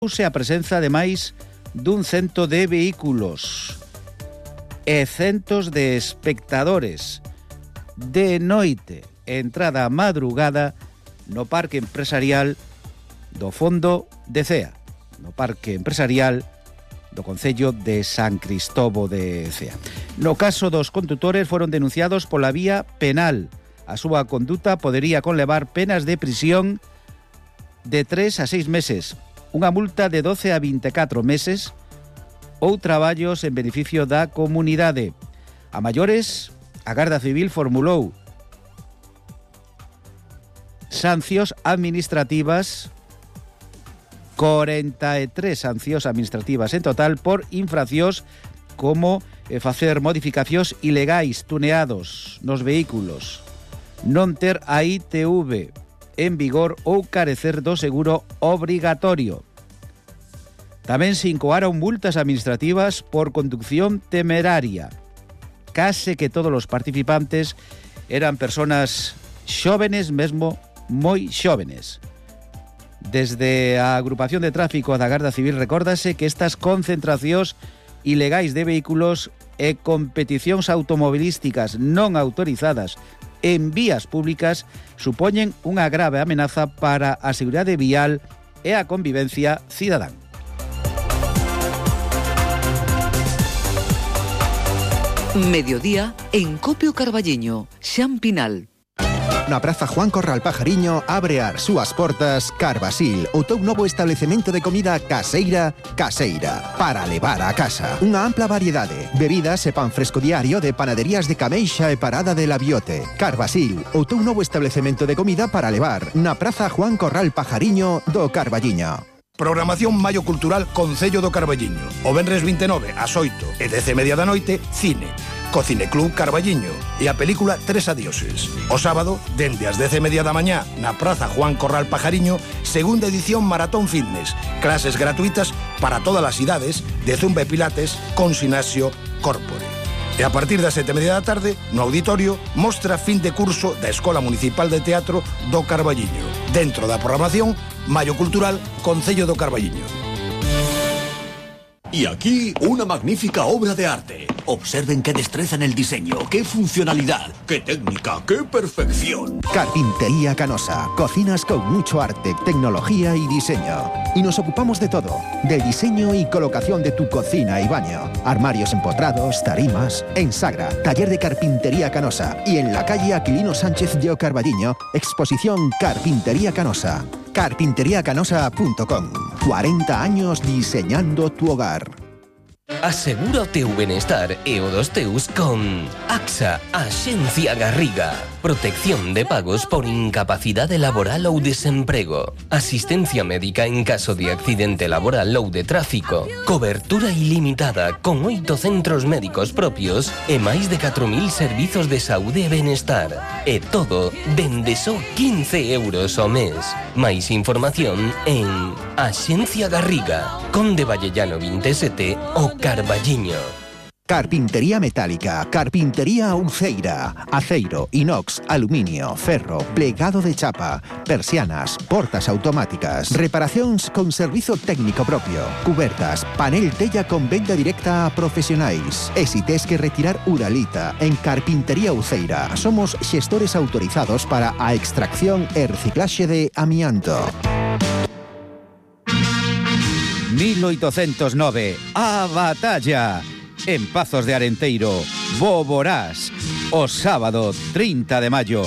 Use a presenza de máis dun cento de vehículos e centos de espectadores de noite, entrada a madrugada no Parque Empresarial do Fondo de Cea, no Parque Empresarial do Concello de San Cristovo de Cea. No caso dos condutores foron denunciados pola vía penal. A súa conduta podería conlevar penas de prisión de 3 a 6 meses, unha multa de 12 a 24 meses ou traballos en beneficio da comunidade. A maiores, a Garda Civil formulou sancións administrativas, 43 sancións administrativas en total por infraccións como facer modificacións ilegais tuneados nos vehículos, non ter a ITV en vigor ou carecer do seguro obrigatorio. Tamén se incoaron multas administrativas por conducción temeraria. Case que todos os participantes eran persoas xóvenes, mesmo moi xóvenes. Desde a agrupación de tráfico da Garda Civil recórdase que estas concentracións ilegais de vehículos e competicións automobilísticas non autorizadas en vías públicas supoñen unha grave amenaza para a seguridade vial e a convivencia cidadán. Mediodía en Copio Carballiño, Xan Pinal. Na Praza Juan Corral Pajariño abre as súas portas Carvasil, o teu novo establecemento de comida caseira para levar a casa. Unha ampla variedade, bebidas e pan fresco diario de panaderías de Cameixa e Parada de la Biote. Carvasil, o teu novo establecemento de comida para levar na Praza Juan Corral Pajariño do Carballiño. Programación Maio Cultural Concello do Carballiño. O venres 29 ás 8 e 10:30 da noite, cine. Co Cineclub Carballiño e a película Tres Adioses. O sábado, dende as 10:30 da mañá, na Praza Juan Corral Pajariño, segunda edición Maratón Fitness. Clases gratuitas para todas as idades de zumba e pilates con Sinasio Corpore. E a partir das 7:30 da tarde, no auditorio, mostra fin de curso da Escola Municipal de Teatro do Carballiño. Dentro da programación, Maio Cultural Concello do Carballiño. Y aquí una magnífica obra de arte. Observen qué destreza en el diseño, qué funcionalidad, qué técnica, qué perfección. Carpintería Canosa. Cocinas con mucho arte, tecnología y diseño. Y nos ocupamos de todo. Del diseño y colocación de tu cocina y baño. Armarios empotrados, tarimas. En Sagra, taller de Carpintería Canosa. Y en la calle Aquilino Sánchez de Carballiño, exposición Carpintería Canosa. Carpinteriacanosa.com. 40 años diseñando tu hogar. Asegura o teu benestar e o dos teus con AXA, Axencia Garriga. Protección de pagos por incapacidade laboral ou desemprego. Asistencia médica en caso de accidente laboral ou de tráfico. Cobertura ilimitada con 8 centros médicos propios e máis de 4.000 servizos de saúde e benestar. E todo dende só 15 euros ao mes. Máis información en Axencia Garriga, Conde Vallellano 27 o Carballiño. Carpintería metálica, carpintería Uceira, aceiro, inox, aluminio, ferro, plegado de chapa, persianas, portas automáticas, reparacións con servizo técnico propio, cubertas, panel tella con venda directa a profesionais. E si tes que retirar uralita, en Carpintería Uceira somos xestores autorizados para a extracción e reciclaxe de amianto. 1809, a batalla. En Pazos de Arenteiro, Boborás, o sábado 30 de maio,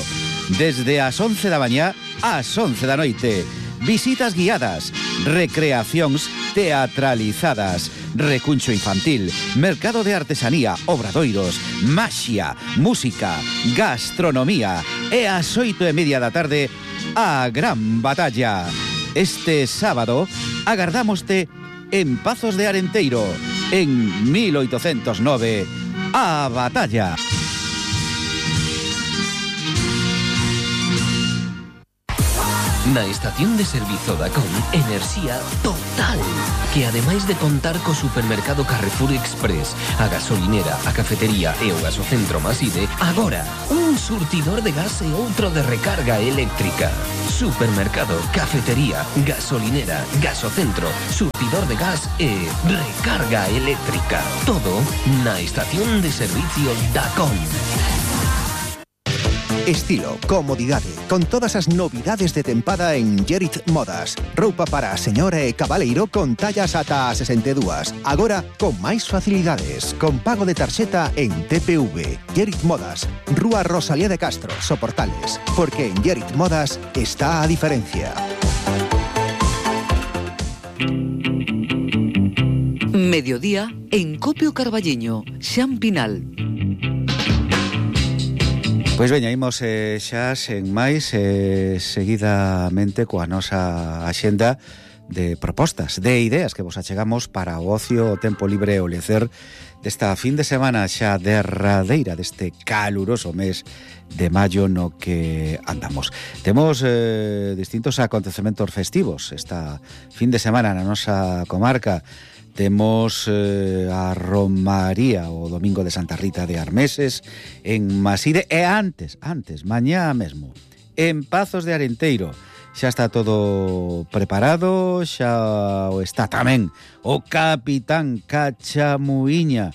desde as 11 da mañá ás 11 da noite. Visitas guiadas, recreacións teatralizadas, recuncho infantil, mercado de artesanía, obradoiros, maxia, música, gastronomía e ás 8:30 da tarde, a gran batalla. Este sábado agardámoste en Pazos de Arenteiro, en 1809, a batalla. Na estación de servizo Dacon, enerxía total, que ademais de contar co supermercado Carrefour Express, a gasolinera, a cafetería e o gasocentro Maside, agora un surtidor de gas e outro de recarga eléctrica. Supermercado, cafetería, gasolinera, gasocentro, surtidor de gas e recarga eléctrica. Todo na estación de servicio Dacon. Estilo, comodidade, con todas as novidades de tempada en Gerit Modas. Roupa para a señora e cabaleiro con tallas ata a 62. Agora con máis facilidades, con pago de tarxeta en TPV. Gerit Modas, Rúa Rosalía de Castro, Soportales. Porque en Gerit Modas está a diferencia. Mediodía en Copio Carballiño, Xampinal. Pois veña, imos xa sen máis seguidamente coa nosa axenda de propostas, de ideas que vos achegamos para o ocio, o tempo libre e o lecer desta fin de semana xa derradeira deste caluroso mes de maio no que andamos. Temos distintos acontecementos festivos esta fin de semana na nosa comarca. Temos a Romaría o Domingo de Santa Rita de Armeses en Maside e antes, mañá mesmo, en Pazos de Arenteiro. Xa está todo preparado, xa está tamén o capitán Cachamuiña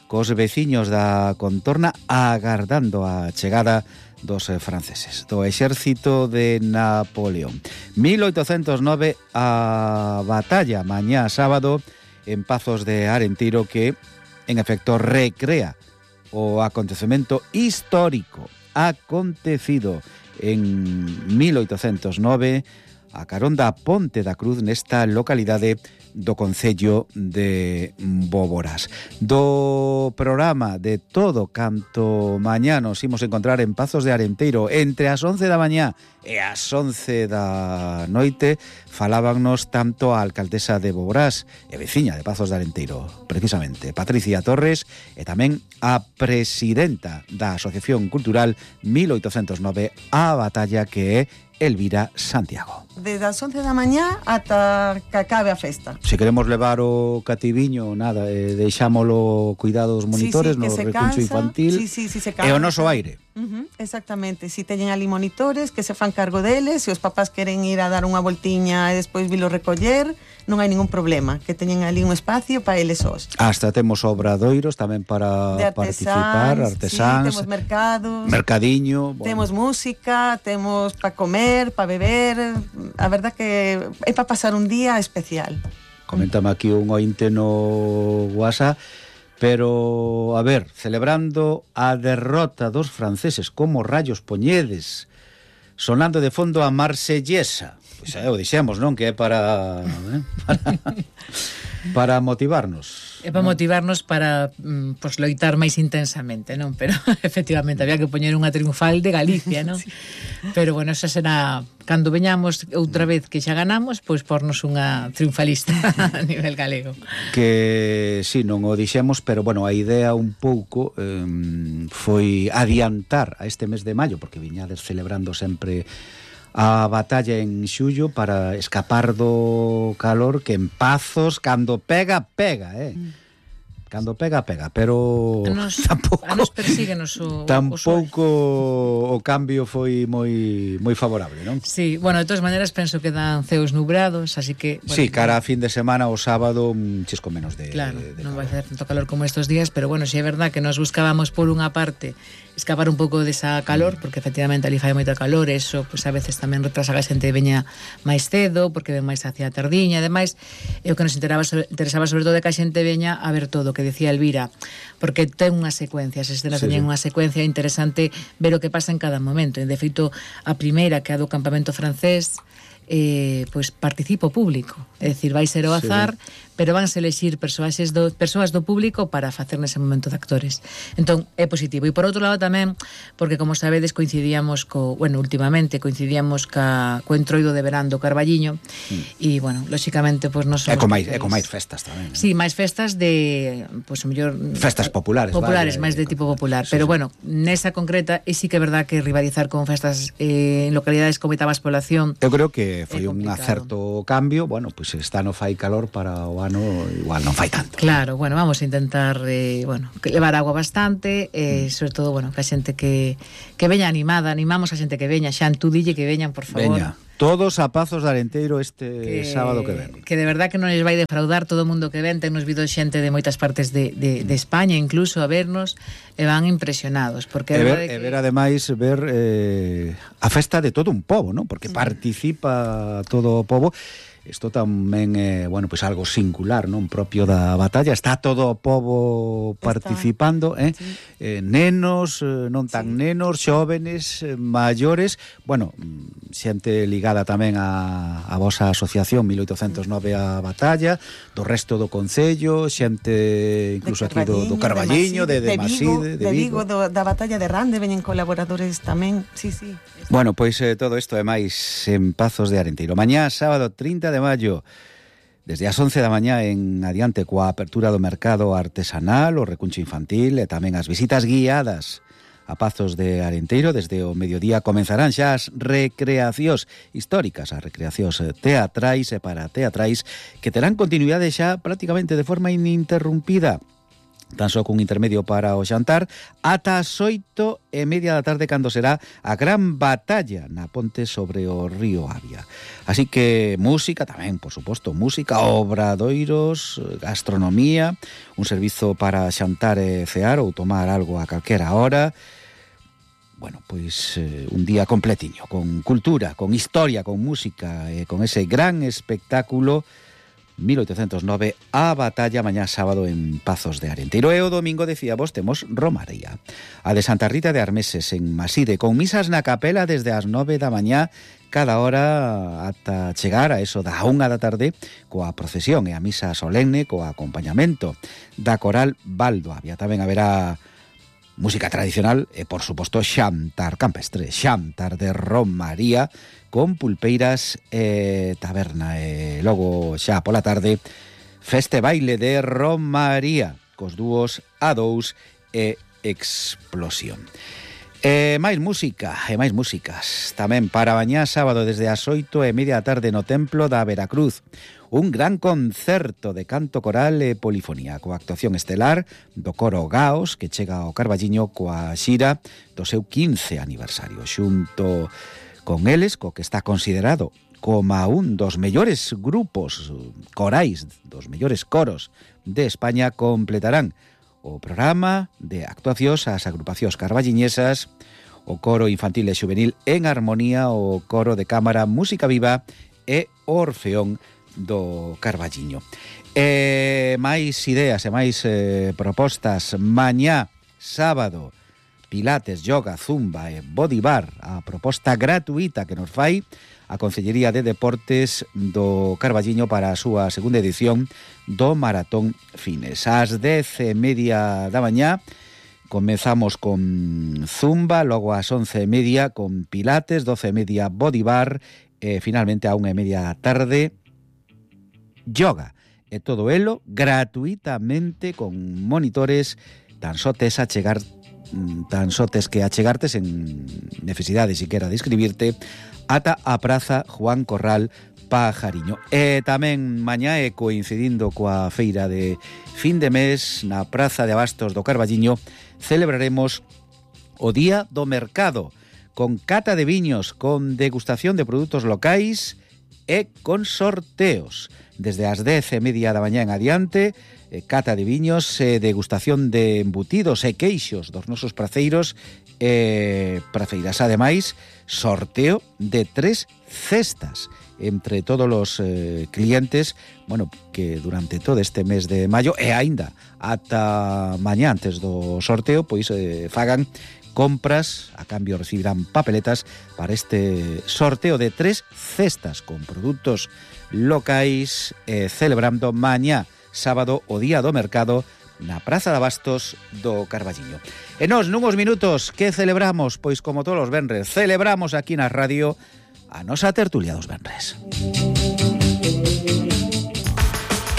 cos veciños da contorna agardando a chegada dos franceses, do exército de Napoleón. 1809 a batalla mañá sábado en Pazos de Arenteiro, que en efecto recrea o acontecemento histórico acontecido en 1809 a carón da Ponte da Cruz nesta localidade do concello de Boborás. Do programa de todo canto mañá nos imos encontrar en Pazos de Arenteiro entre as 11 da mañá e as 11 da noite. Falábanos tanto a alcaldesa de Boborás e veciña de Pazos de Arenteiro, precisamente Patricia Torres, e tamén a presidenta da Asociación Cultural 1809 a batalla, que é Elvira Santiago. Desde as 11 da mañá ata que acabe a festa. Se queremos levar o cativiño, nada, deixámolo cuidado dos monitores no recuncho infantil se e o noso aire. Exactamente, si teñen ali monitores que se fan cargo deles, se os papás queren ir a dar unha voltiña e despois vilo recoller, non hai ningún problema, que teñen ali un espacio para eles sós. Hasta temos obradoiros tamén para participar, artesáns, temos mercados, mercadiño, temos música, temos para comer, para beber. A verdad que é para pasar un día especial. Coméntame aquí un ointe no WhatsApp. Pero, a ver, celebrando a derrota dos franceses, como rayos poñedes, sonando de fondo a Marsellesa. Pois o dixemos, non? Que é para motivarnos. É para motivarnos para loitar máis intensamente, non? Pero, efectivamente, había que poñer unha triunfal de Galicia, non? Sí. Pero, bueno, esa será... Cando veñamos outra vez que xa ganamos, pois pornos unha triunfalista a nivel galego. Que, sí, non o dixemos, pero, bueno, a idea un pouco foi adiantar a este mes de maio, porque viñades celebrando sempre a batalla en xullo para escapar do calor, que en Pazos, cando pega, Cando pega, pero tampouco a nos persíguenos tampouco o cambio foi moi favorable, non? Sí, bueno, de todas maneiras penso que dan ceos nubrados, así que... Bueno, sí, cara a fin de semana o sábado un chisco menos de... Claro, non vai ser tanto calor como estos días, pero bueno, si é verdad que nos buscábamos por unha parte escapar un pouco desa calor, porque efectivamente ali fai moita calor, eso pues a veces tamén retrasa que a xente veña máis cedo, porque ven máis hacia a tardiña, ademais, é o que nos interesaba sobre todo que a xente veña a ver todo, que decía Elvira, porque ten unha secuencia, as escenas teñen unha secuencia interesante ver o que pasa en cada momento. De feito, a primeira, que é a do campamento francés, pois participa o público, é dicir, vai ser ao azar, pero vanse elexir persoas do público para facer nese momento de actores. Entón, é positivo. E por outro lado tamén, porque como sabedes, últimamente coincidíamos co entroido de verán do Carballiño, e, bueno, lóxicamente, pois non somos... E con máis festas tamén. Sí, máis festas de, pois, o mellor... Festas populares. Máis de tipo popular. Pero, bueno, nesa concreta, e sí que é verdad que rivalizar con festas en localidades como Itabas Población... Eu creo que foi un acerto cambio. Bueno, pois esta no fai calor, para o ano igual non fai tanto. Claro, bueno, vamos a intentar levar agua bastante, sobre todo, bueno, que a xente que veña animada, animamos a xente que veña, Xan, tú dille que veñan, por favor. Veña. Todos a Pazos de Arenteiro sábado que ven. Que de verdad que non les vai defraudar todo o mundo que ven. Tennos vido xente de moitas partes de España incluso a vernos, e van impresionados, porque ver ademais a festa de todo un pobo, ¿no? Porque participa todo o pobo. Isto tamén é, pois algo singular, non, propio da batalla. Está todo o pobo participando, nenos, non tan nenos, xóvenes, maiores, xente ligada tamén a vosa asociación 1809 a batalla, do resto do concello, xente incluso aquí do Carballiño, de Maside, de Vigo, da batalla de Rande, veñen colaboradores tamén. Sí. Bueno, pois todo isto é máis en Pazos de Arenteiro. Mañá, sábado 30 de maio, desde as 11 da mañá en adiante, coa apertura do mercado artesanal, o recuncho infantil e tamén as visitas guiadas a Pazos de Arenteiro. Desde o mediodía comenzarán xa as recreacións históricas, as recreacións teatrais e parateatrais, que terán continuidade xa prácticamente de forma ininterrumpida, tan só cun intermedio para o xantar, ata as 8:30 da tarde, cando será a gran batalla na ponte sobre o río Avia. Así que música tamén, por suposto, música, obradoiros, gastronomía, un servizo para xantar e cear ou tomar algo a calquera hora. Bueno, pois un día completiño, con cultura, con historia, con música e con ese gran espectáculo 1809, a batalla, mañá sábado en Pazos de Arenteiro. E o domingo, decíamos, temos Romaría, a de Santa Rita de Armeses en Maside, con misas na capela desde as 9 da mañá cada hora ata chegar a eso da 1 da tarde, coa procesión e a misa solemne co acompañamento da coral Baldo Avia. Tamén haberá música tradicional e, por suposto, xantar campestre, xantar de Romaría, con pulpeiras e taberna. E logo, xa pola tarde, feste baile de Romaría, cos dúos A2 e Explosión. E máis música, e máis músicas. Tamén para mañá sábado desde as 8:30 da tarde no Templo da Veracruz, un gran concerto de canto coral e polifonía, coa actuación estelar do coro Gaos, que chega ao Carballiño coa xira do seu 15 aniversario. Xunto con eles, co que está considerado como un dos mellores grupos corais, dos mellores coros de España, completarán o programa de actuacións as agrupacións carballiñesas, o coro infantil e xuvenil en armonía, o coro de cámara Música Viva e o Orfeón do Carballiño. Máis ideas e máis propostas. Mañá, sábado, pilates, yoga, zumba e body bar, a proposta gratuita que nos fai a Consellería de Deportes do Carballiño para a súa segunda edición do Maratón Fines. Ás 10:30 da mañá comezamos con zumba, logo ás 11:30 con pilates, 12:30 body bar e finalmente a 1:30 da tarde yoga. E todo elo gratuitamente con monitores, tan só tes que achegarte sen necesidade siquera de inscribirte ata a Praza Juan Corral Pajariño. E tamén mañá, e coincidindo coa feira de fin de mes, na Praza de Abastos do Carballiño celebraremos o Día do Mercado, con cata de viños, con degustación de produtos locais e con sorteos. Desde as 10:30 da mañá en adiante, cata de viños, degustación de embutidos e queixos dos nosos praceiros e praceiras. Ademais, sorteo de 3 cestas entre todos os clientes, que durante todo este mes de maio e aínda ata mañá antes do sorteo, pois fagan compras, a cambio recibirán papeletas para este sorteo de 3 cestas con produtos locais, celebrando mañá, sábado, o día do mercado, na Praza de Abastos do Carballiño. E nós, nunhos minutos, que celebramos? Pois como todos os venres, celebramos aquí na radio a nosa tertulia dos venres.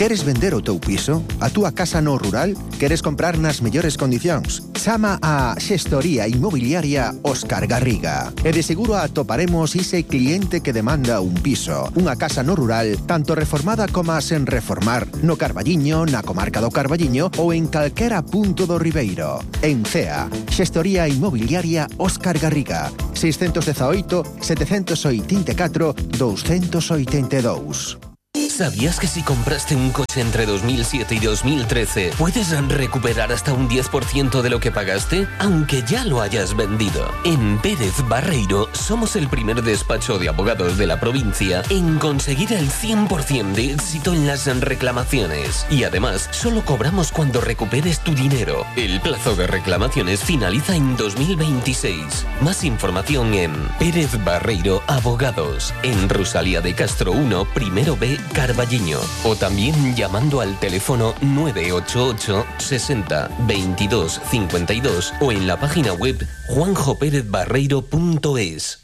Queres vender o teu piso? A túa casa no rural? Queres comprar nas mellores condicións? Chama a Xestoría Inmobiliaria Óscar Garriga. E de seguro atoparemos ese cliente que demanda un piso, unha casa no rural, tanto reformada como sen reformar, no Carballiño, na comarca do Carballiño ou en calquera punto do Ribeiro. En CEA, Xestoría Inmobiliaria Óscar Garriga, 618 784 282. ¿Sabías que si compraste un coche entre 2007 y 2013 puedes recuperar hasta un 10% de lo que pagaste, aunque ya lo hayas vendido? En Pérez Barreiro somos el primer despacho de abogados de la provincia en conseguir el 100% de éxito en las reclamaciones. Y además, solo cobramos cuando recuperes tu dinero. El plazo de reclamaciones finaliza en 2026. Más información en Pérez Barreiro Abogados, en Rosalía de Castro 1, primero B, Carballiño, o también llamando al teléfono 988 60 22 52 o en la página web juanjoperezbarreiro.es.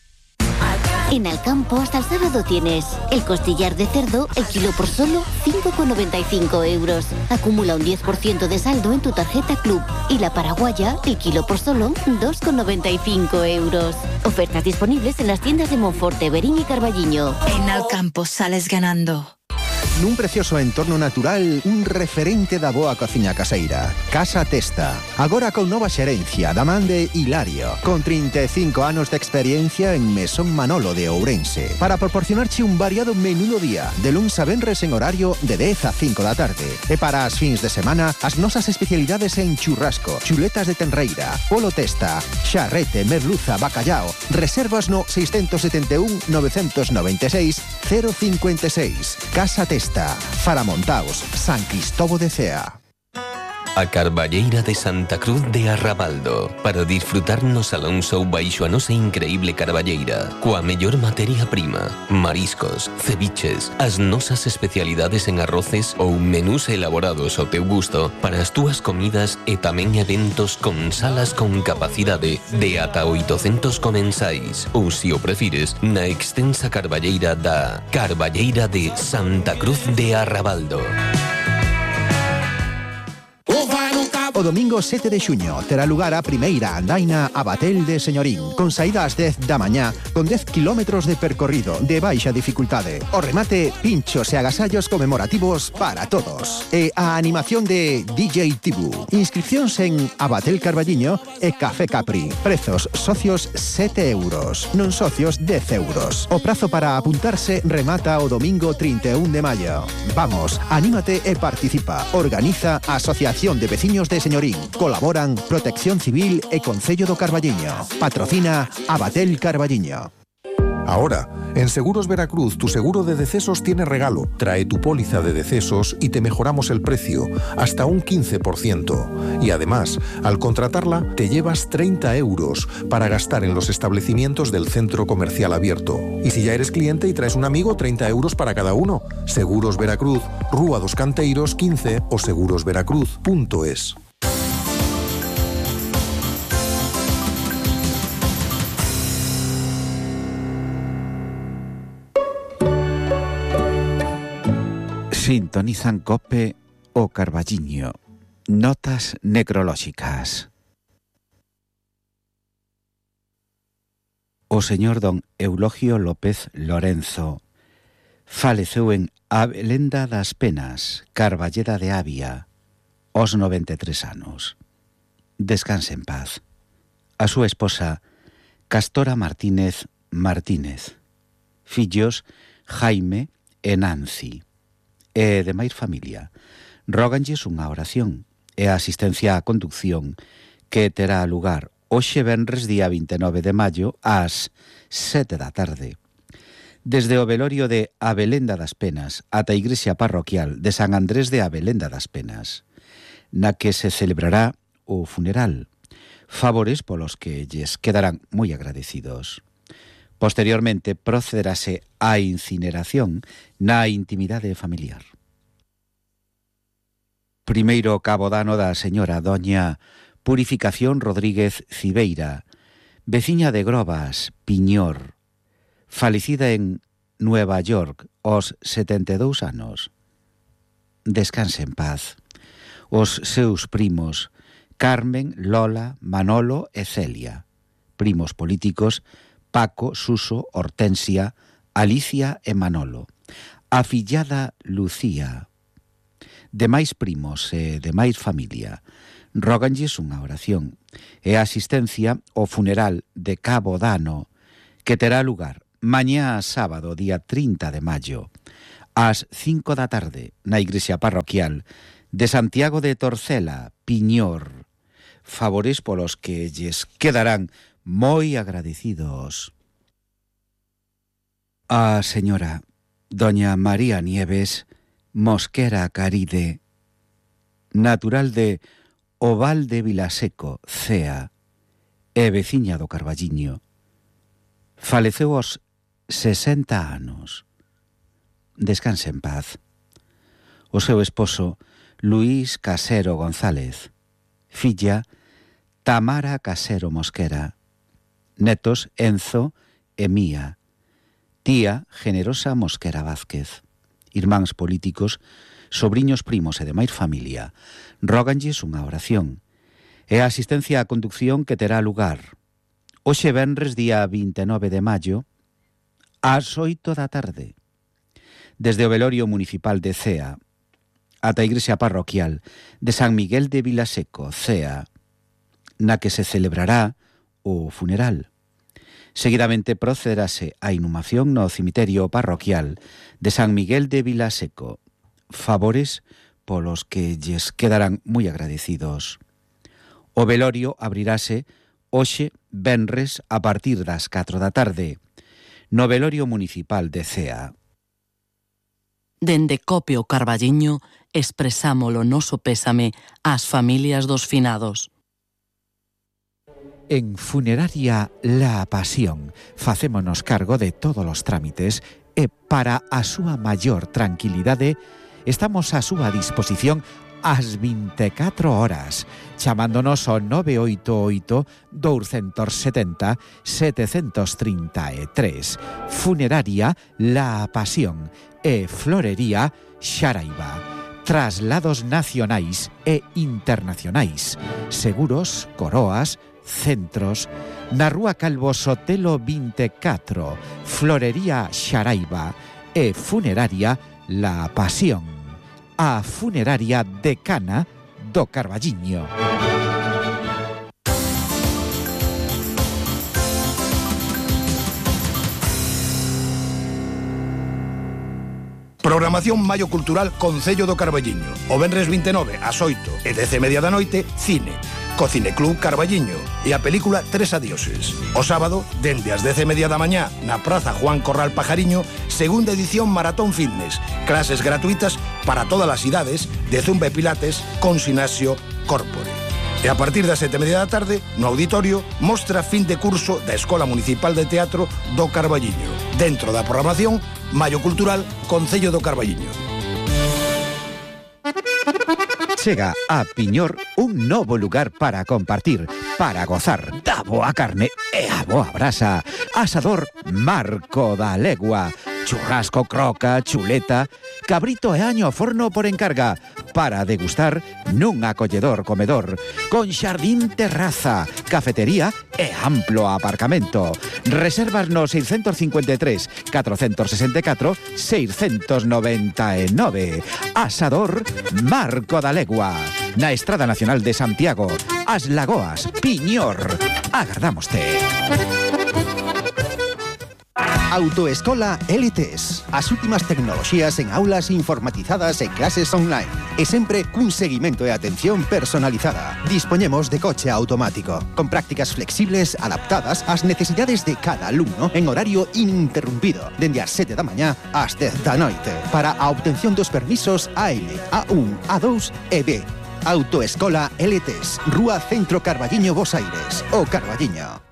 En Alcampo hasta el sábado tienes el costillar de cerdo, el kilo por solo 5,95 €. Acumula un 10% de saldo en tu tarjeta Club. Y la paraguaya, el kilo por solo 2,95 €. Ofertas disponibles en las tiendas de Monforte, Verín y Carballiño. En Alcampo sales ganando. Nun precioso entorno natural, un referente da boa cociña caseira. Casa Testa. Agora con nova xerencia da man de Hilario, con 35 anos de experiencia en Mesón Manolo de Ourense, para proporcionarche un variado menú do día, de luns a venres en horario de 10 a 5 da tarde. E para as fins de semana, as nosas especialidades en churrasco, chuletas de tenreira, polo testa, xarrete, merluza, bacallao. Reservas no 671 996 056. Casa Testa. Faramontaos, San Cristóbal de Cea. A Carballeira de Santa Cruz de Arrabaldo, para disfrutarnos Alonso baixo a nosa increíble Carballeira, coa mellor materia prima, mariscos, ceviches, as nosas especialidades en arroces ou menús elaborados ao teu gusto para as túas comidas e tamén eventos con salas con capacidade de ata 800 comensais, ou se o prefires, na extensa Carballeira da Carballeira de Santa Cruz de Arrabaldo. O domingo 7 de xuño terá lugar a primeira andaina a Batel de Señorín, con saída ás 10 da mañá, con 10 kilómetros de percorrido de baixa dificultade. O remate, pinchos e agasallos conmemorativos para todos. E a animación de DJ Tibu. Inscripcións en Abatel Carballiño e Café Capri. Prezos socios 7 €, non socios 10 €. O prazo para apuntarse remata o domingo 31 de maio. Vamos, anímate e participa. Organiza a Asociación de Veciños de Señorín. Colaboran Protección Civil e Concello do Carballiño. Patrocina Abatel Carballiño. Ahora, en Seguros Veracruz, tu seguro de decesos tiene regalo. Trae tu póliza de decesos y te mejoramos el precio, hasta un 15%. Y además, al contratarla, te llevas 30 € para gastar en los establecimientos del centro comercial abierto. Y si ya eres cliente y traes un amigo, 30 € para cada uno. Seguros Veracruz, Rúa dos Canteiros 15 o segurosveracruz.es. Sintonizan COPE o Carballiño. Notas necrolóxicas. O señor don Eulogio López Lorenzo faleceu en Abelenda das Penas, Carballeda de Avia, aos 93 anos. Descanse en paz. A súa esposa, Castora Martínez Martínez. Fillos, Jaime e Nancy. E de máis familia, róganlles unha oración e a asistencia á conducción que terá lugar hoxe venres día 29 de maio ás 7 da tarde. Desde o velorio de Abelenda das Penas ata a igrexa parroquial de San Andrés de Abelenda das Penas, na que se celebrará o funeral, favores polos que lles quedarán moi agradecidos. Posteriormente procederase á incineración na intimidade familiar. Primeiro cabo dano da señora doña Purificación Rodríguez Cibeira, veciña de Grobas, Piñor, falecida en Nueva York aos 72 anos. Descanse en paz. Os seus primos Carmen, Lola, Manolo e Celia, primos políticos Paco, Suso, Hortensia, Alicia e Manolo, a fillada Lucía. Demais primos e demais familia róganlles unha oración e a asistencia ao funeral de Cabo Dano que terá lugar mañá sábado, día 30 de maio, ás 5 da tarde, na igrexa parroquial de Santiago de Torcela, Piñor. Favores polos que lles quedarán moi agradecidos. A señora doña María Nieves Mosquera Caride, natural de Oval de Vilaseco, Cea, e veciña do Carballiño, faleceu aos 60 anos. Descanse en paz. O seu esposo, Luís Casero González, filla, Tamara Casero Mosquera, netos, Enzo e Mía, tía, Generosa Mosquera Vázquez, irmáns políticos, sobriños, primos e demais familia, róganlles unha oración e a asistencia á conducción que terá lugar hoxe venres, día 29 de maio, ás 8 da tarde, desde o velorio municipal de Cea ata a igrexa parroquial de San Miguel de Vilaseco, Cea, na que se celebrará o funeral. Seguidamente procederase a inhumación no cemiterio parroquial de San Miguel de Vilaseco. Favores polos que lles quedarán moi agradecidos. O velorio abrirase hoxe venres a partir das 4 da tarde no velorio municipal de Cea. Dende Copio Carballiño expresamos o noso pésame ás familias dos finados. En Funeraria La Pasión facémonos cargo de todos os trámites e para a súa maior tranquilidade estamos a súa disposición ás 24 horas, chamándonos ao 988-270-733. Funeraria La Pasión e Florería Xaraiba. Traslados nacionais e internacionais. Seguros, coroas, centros. Na Rúa Calvo Sotelo 24, Florería Xaraiba e Funeraria La Pasión. A funeraria decana do Carballiño. Programación Maio Cultural Concello do Carballiño. O venres 29 ás 8 e 10:30 da noite, cine. Cocine Club Carballiño e a película Tres Adioses. O sábado, dende as 10:30 da mañá, na Praza Juan Corral Pajariño, segunda edición Maratón Fitness. Clases gratuitas para todas as idades de Zumba e Pilates con Sinasio Corpore. E a partir das 7:30 da tarde, no auditorio, mostra fin de curso da Escola Municipal de Teatro do Carballiño. Dentro da programación, Maio Cultural Concello do Carballiño. Chega a Piñor un novo lugar para compartir, para gozar da boa carne e a boa brasa. Asador Marco da Legua. Churrasco, croca, chuleta, cabrito e año ao forno por encarga, para degustar nun acolledor comedor, con xardín, terraza, cafetería e amplo aparcamento. Reservas no 653 464 699. Asador Marco da Legua, na Estrada Nacional de Santiago, As Lagoas, Piñor. Agardámoste. Autoescola LTS. As últimas tecnoloxías en aulas informatizadas e clases online. E sempre cun seguimento e atención personalizada. Dispoñemos de coche automático, con prácticas flexibles adaptadas ás necesidades de cada alumno en horario ininterrumpido, dende as 7 da mañá ás 10 da noite, para a obtención dos permisos AM, A1, A2 e B. Autoescola LTs, Rúa Centro Carballiño, Bos Aires, o Carballiño.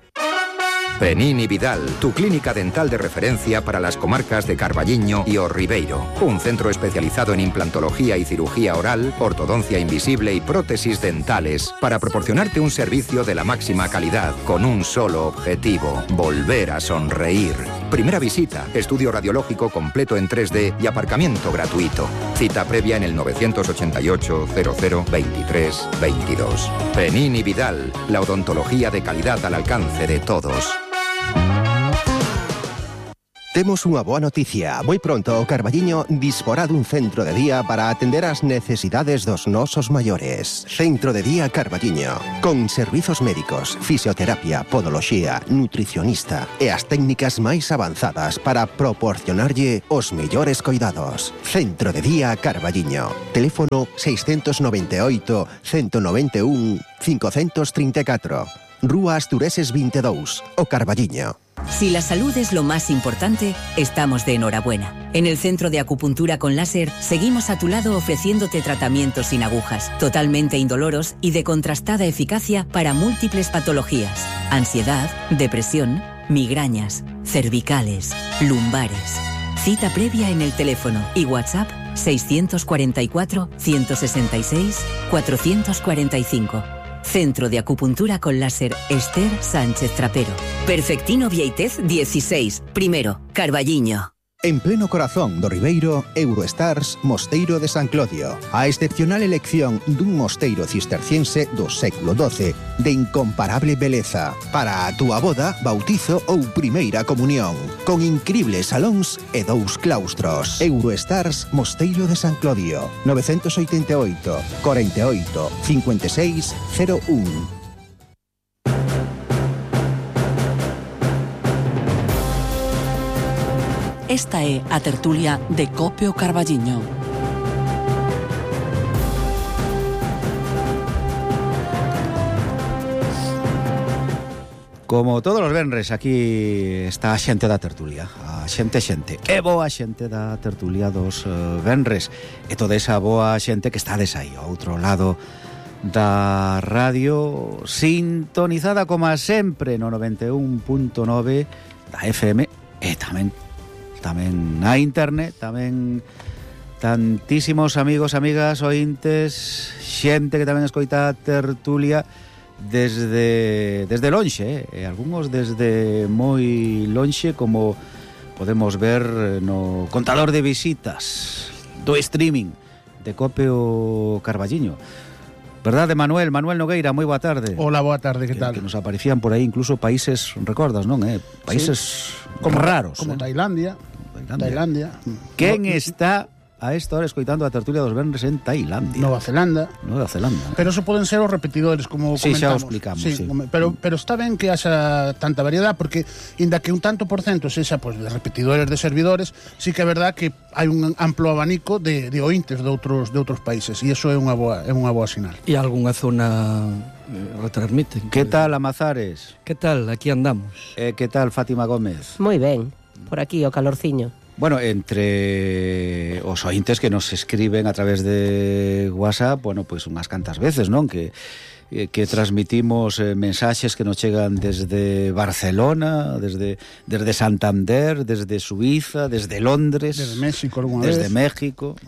Penini Vidal, tu clínica dental de referencia para las comarcas de Carballiño y O Ribeiro. Un centro especializado en implantología y cirugía oral, ortodoncia invisible y prótesis dentales para proporcionarte un servicio de la máxima calidad con un solo objetivo: volver a sonreír. Primera visita, estudio radiológico completo en 3D y aparcamiento gratuito. Cita previa en el 988 00 23 22. Penini Vidal, la odontología de calidad al alcance de todos. Temos unha boa noticia. Moi pronto o Carballiño disporá dun centro de día para atender as necesidades dos nosos maiores. Centro de día Carballiño, con servizos médicos, fisioterapia, podoloxía, nutricionista e as técnicas máis avanzadas para proporcionarlle os mellores coidados. Centro de día Carballiño. Teléfono 698 191 534. Rúa Astureses 22, o Carballiño. Si la salud es lo más importante, estamos de enhorabuena. En el Centro de Acupuntura con Láser seguimos a tu lado ofreciéndote tratamientos sin agujas, totalmente indoloros y de contrastada eficacia para múltiples patologías: ansiedad, depresión, migrañas, cervicales, lumbares. Cita previa en el teléfono y WhatsApp 644 166 445. Centro de Acupuntura con Láser Esther Sánchez Trapero. Perfectino Vieitez 16, primero, Carballiño. En pleno corazón do Ribeiro, Eurostars Mosteiro de San Clodio. A excepcional elección dun mosteiro cisterciense do século XII de incomparable beleza para a túa boda, bautizo ou primeira comunión, con incribles salóns e 2 claustros. Eurostars Mosteiro de San Clodio, 988 48 56 01. Esta é a tertulia de Cope o Carballiño. Como todos os venres, aquí está a xente da tertulia. A xente. É boa xente da tertulia dos venres. E toda esa boa xente que estades aí, ao outro lado da radio, sintonizada como sempre no 91.9 da FM e tamén na internet, tamén tantísimos amigos, amigas, ointes, xente que tamén escoita a tertulia desde lonxe, algúns desde moi lonxe, como podemos ver no contador de visitas do streaming de Cope o Carballiño. Verdade, Manuel Nogueira, moi boa tarde. Hola, boa tarde, que tal? Que nos aparecían por aí incluso países, recordas, non? Países como raros. Como Tailandia. Quen está a esta hora escoitando a tertulia dos venres en Tailandia? Nova Zelanda. Pero eso poden ser os repetidores, como comentamos. Xa o explicamos, sí. Pero está ben que haxa tanta variedade, porque inda que un tanto por cento sexa de repetidores de servidores, sí que é verdad que hai un amplo abanico de ointes de outros países, e iso é unha boa sinal. E algunha zona retransmiten. Que tal, Amazares? Que tal? Aquí andamos. Que tal, Fátima Gómez? Moi ben, por aquí o calorciño. Bueno, entre os ointes que nos escriben a través de WhatsApp, bueno, pois unhas cantas veces, non? Que transmitimos mensaxes que nos chegan desde Barcelona, desde Santander, desde Suiza, desde Londres, desde México algunha vez. Desde México.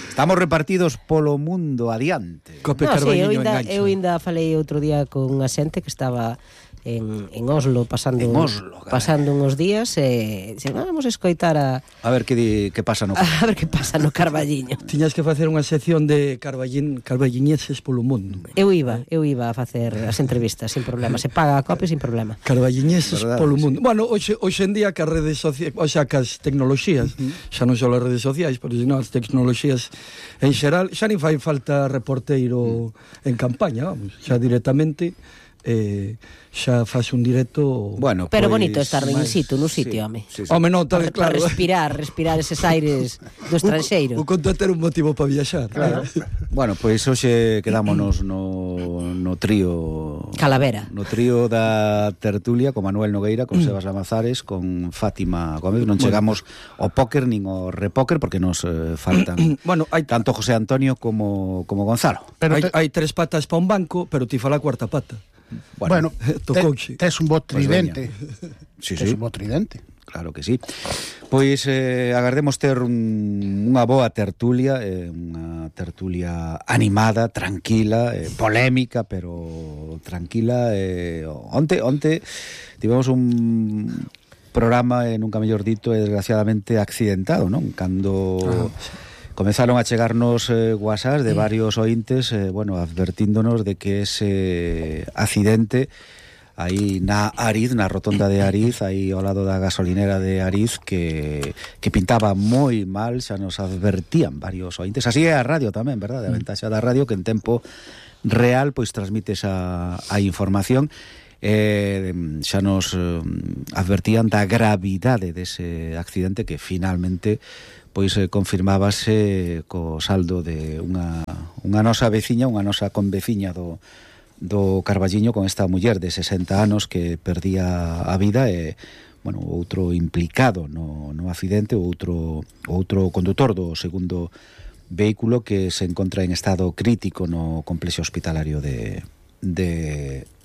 Estamos repartidos polo mundo adiante. Cope Carballiño engancha. Eu ainda falei outro día con unha xente que estaba en Oslo pasando unos días e vamos a escoitar a ver que pasa no Carballiño. A ver que pasa no Carballiño. Tiñas que facer unha sección de carballiñeses polo mundo. Eu iba a facer as entrevistas sin problema, se paga a Cope sin problema. Carballiñeses polo mundo. Bueno, hoxe en día que as redes sociais, o sea, que as tecnoloxías, xa non só as redes sociais, pero senón as tecnoloxías en xeral, xa nin fai falta reporteiro en campaña, vamos, xa directamente xa faz un directo. Bueno, pero bonito estar in situ, no sitio, home. Home, non, claro. Para respirar eses aires do estranxeiro. O conto ter un motivo para viaxar. Claro. Bueno, pois hoxe quedámonos no trío Calavera. No trío da tertulia con Manuel Nogueira, con Sebas Lamazares, con Fátima Gómez. Non chegamos ao póker nin ao repóker porque nos faltan hai tanto José Antonio como Gonzalo. Pero hai tres patas para un banco, pero ti fala a cuarta pata. Bueno, tes un bo tridente. Sí, tes un bo tridente. Claro que sí. Pois agardemos ter unha boa tertulia, unha tertulia animada, tranquila, polémica, pero tranquila. Onte tivemos un programa, nunca mellor dito, desgraciadamente accidentado, non? Cando comezaron a chegarnos WhatsApp de varios ointes, advertíndonos de que ese accidente aí na Ariz, na rotonda de Ariz, aí ao lado da gasolinera de Ariz, que pintaba moi mal, xa nos advertían varios ointes. Así é a radio tamén, verdade? A ventaxa da radio que en tempo real pois transmite a información. Xa nos advertían da gravidade dese accidente que finalmente pois confirmábase co saldo de unha nosa veciña, unha nosa conveciña do Carballiño, con esta muller de 60 anos que perdía a vida e, outro implicado no accidente, outro condutor do segundo vehículo que se encontra en estado crítico no complexo hospitalario de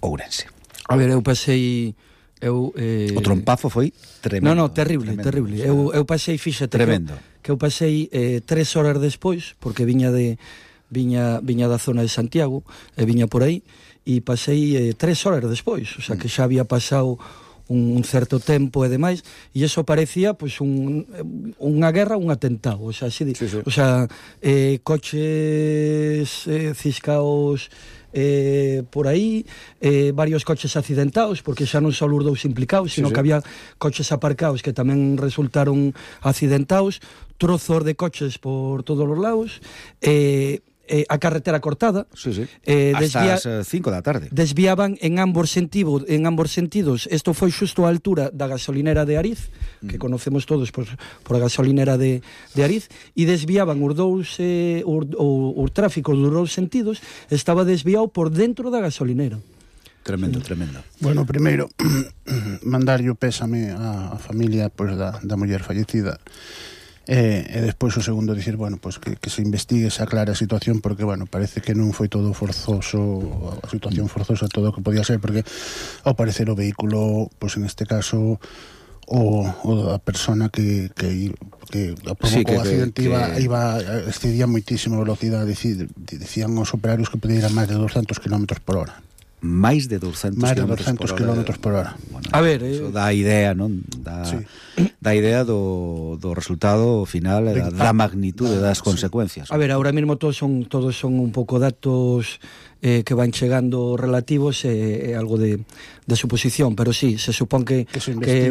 Ourense. A ver, eu pasei... O trompazo foi tremendo. Non, terrible. Eu pasei, fíxate, tremendo. Que eu pasei 3 horas despois, porque viña da zona de Santiago, e viña por aí, e pasei 3 horas despois, o sea, que xa había pasado un certo tempo e demais, e iso parecía pois unha guerra, un atentado, o sea, así, sí. O sea, coches ciscaos por aí, varios coches accidentados, porque xa non só os dous implicados, sino que había coches aparcados que tamén resultaron accidentados, trozos de coches por todos os lados, a carretera cortada, hasta as 5 da tarde. Desviaban en ambos sentidos. Isto foi xusto á altura da gasolinera de Ariz, que conocemos todos por a gasolinera de Ariz, e desviaban os tráficos dos dous sentidos, estaba desviado por dentro da gasolinera. Tremendo. Bueno, primeiro, mandarlle o pésame á familia da muller fallecida. E despois o segundo dicir, que se investigue, se aclare a situación, porque, parece que non foi todo forzoso, a situación forzosa, todo o que podía ser, porque ao parecer o vehículo, en este caso, o a persona que provocou o accidente excedía moitísimo a velocidade, dicían os operarios que podía ir a máis de 200 km por hora. Máis de 200 km por hora. A ver, eso dá idea, non? Dá idea do resultado final, da magnitude das consecuencias. A ver, ahora mesmo todos son un pouco datos que van chegando relativos, algo de suposición, pero sí, se supón que